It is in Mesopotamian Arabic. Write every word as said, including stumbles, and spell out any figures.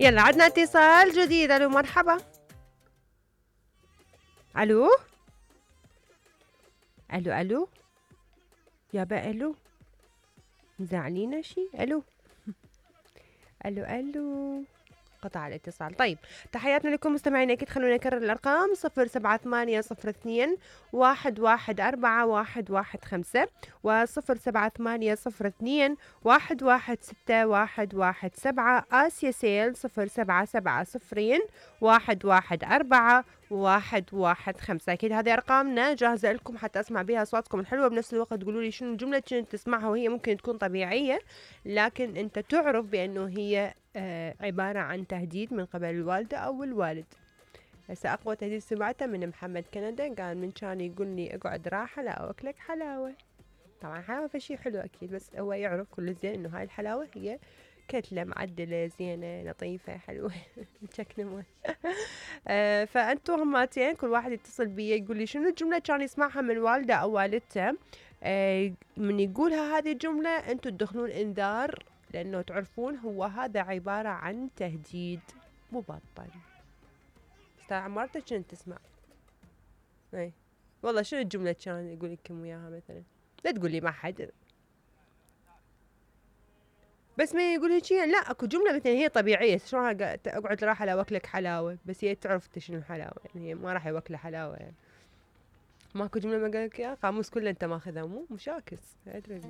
يلا عدنا اتصال جديد. الو مرحبا. الو الو الو يابا الو مزعلينا شي. الو الو الو قطع الاتصال. طيب تحياتنا لكم مستمعينا. اكيد خلونا نكرر الارقام صفر سبعة ثمانية صفر اثنين واحد واحد اربعة واحد واحد خمسة وصفر سبعة ثمانية صفر اثنين واحد واحد ستة واحد واحد سبعة. آسيا سيل صفر سبعة سبعة صفرين واحد واحد اربعة واحد واحد خمسة. اكيد هذه ارقامنا جاهزة لكم حتى اسمع بها اصواتكم الحلوة. بنفس الوقت تقولوا لي شنو الجملة اللي تسمعها وهي ممكن تكون طبيعية لكن انت تعرف بانه هي آه عبارة عن تهديد من قبل الوالدة أو الوالد. هسه أقوى تهديد سمعته من محمد كندا، قال من كان يقول لي اقعد راحة لا أوكلك حلاوة. طبعا حلاوة فشي حلو أكيد، بس هو يعرف كل زين إنه هاي الحلاوة هي كتلة معدلة زينة لطيفة حلوة مشكنة آه فأنتوا هماتين كل واحد يتصل بي يقول لي شنو الجملة كان يسمعها من والده أو والدته. آه من يقولها هذه الجملة أنتوا تدخلون إنذار، لأنه تعرفون هو هذا عبارة عن تهديد مبطن. استاذ عمارتك شنو تسمع؟ اي والله شنو الجملة كان يقول لكم وياها مثلا؟ لا تقول لي ما حد، بس ما يقول هيك لا اكو جملة مثلا هي طبيعية شلون اقعد راح اوكلك حلاوة، بس هي تعرف شنو الحلاوة يعني هي ما راح يوكله حلاوة يعني. ماكو جملة ما قال لك اياها؟ قاموس كله انت ماخذها مو مشاكس ادري.